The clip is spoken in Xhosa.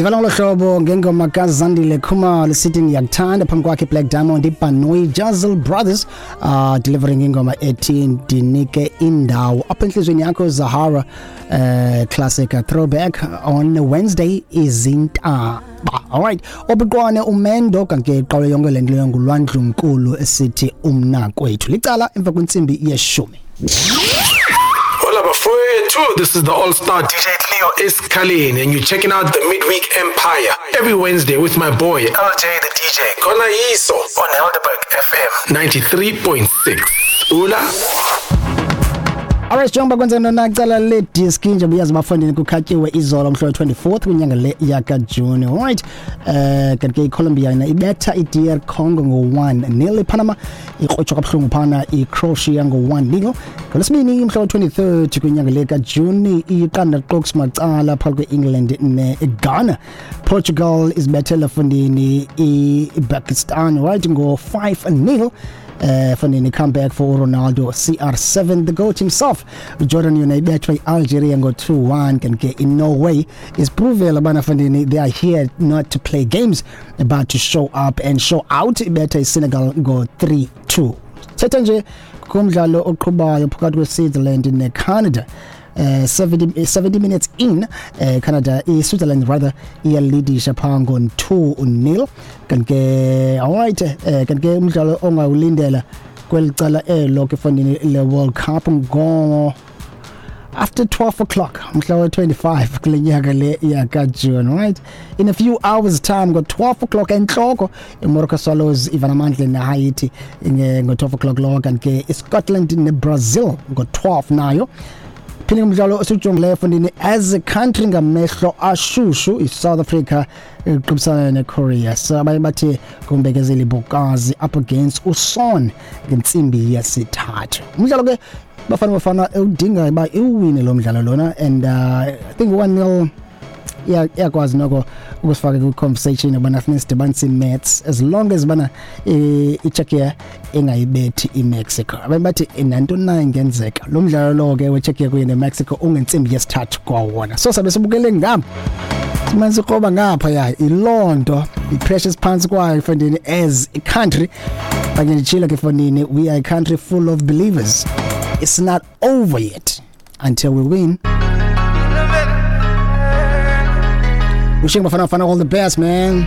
Zivala ngolo hlobo ngengoma kaZandile Khumalo sithi "Ngiyakuthanda". Phambi kwakhe Blaq Diamond, iBhanoyi, Jazzle Brothers delivering ingoma ethi "Ndinike Indawo Apha Enhliziyweni Yakho", Zahara, classic throwback on Wednesday, izintaba. Alright, obuqwane umendo kanti iqalo yonke lento leyo ngulwandlunkulu esithi umnakwethu licala emva kwentsimbi yeshumi. Hola bafowethu, this is the All-Star DJ Cleo Escalin and you're checking out the Midweek Empire every Wednesday with my boy LJ the DJ Kona Iso on Helderberg FM 93.6. Ula. Alright, njengoba kwenza nona cala le diski nje, buyazi bafundini, kukhatyiwe izolo mhla we-24th kwinyanga le yakaJuni. Alright, kanti ke iColombia yona ibetha iDR Congo ngo-1-0. IPanama ikrotshwa kabuhlungu phana iCroatia ngo-1-0. Ngolwesibini mhla we-23rd kwinyanga le kaJuni, iqanda qoks macala phakathi kwe-England neGhana. Portugal izibethele fundini iPakistan, right, ngo-5-0. Fundini, comeback for Ronaldo CR7, the GOAT himself. Jordan yona ibethwa iAlgeria ngo-2-1. Kanti ke iNorway isiprovela abana fundini they are here not to play games but to show up and show out, ibetha iSenegal ngo-3-2. Thetha nje kumdlalo oqhubayo phakathi kweSwitzerland neCanada, 70 minutes in, Canada, iSwitzerland rather, iyalidisha pha ngo-2-0. Kanti ke alright, kanti ke umdlalo ongawulindela kweli cala elo ke fondini le World Cup ngo after 12 o'clock mhla we-25 kule nyaka le yakaJune, right, in a few hours time, ngo-12 o'clock enhloko, iMoroka Swallows ivana amandla neHaiti ngo-12 o'clock lo. Kanti ke iScotland neBrazil ngo-12 nayo. Phinde umdlalo esijongileyo fundini as a country ngamehlo ashushu, iSouth Africa iqubisana neKorea. So abanye bathi kuMbekezeli Bokazi up against uSon ngentsimbi yesithathu. Umdlalo ke Bafana Bafana ewudinga uba iwine lo mdlalo lona, and I think 1-0 iyakwazi noko ukusifaka kwi-conversation ubana funeka sidibanise i-maths, as long as bana iCzechia ingayibethi iMexico. Abanye bathi nantoni na ingenzeka. Lo mdlalo lo ke weCzechia kunye neMexico ungentsimbi yesithathu kwawona. So sabe sibukele ngapha, simane sikroba ngapha ya iloo nto, i-pressure phantsi kwayo efondini as a country. Kanye nditshilo ke efondini, we are a country full of believers. It's not over yet until we win. Wishing Bafana Bafana all the best, man.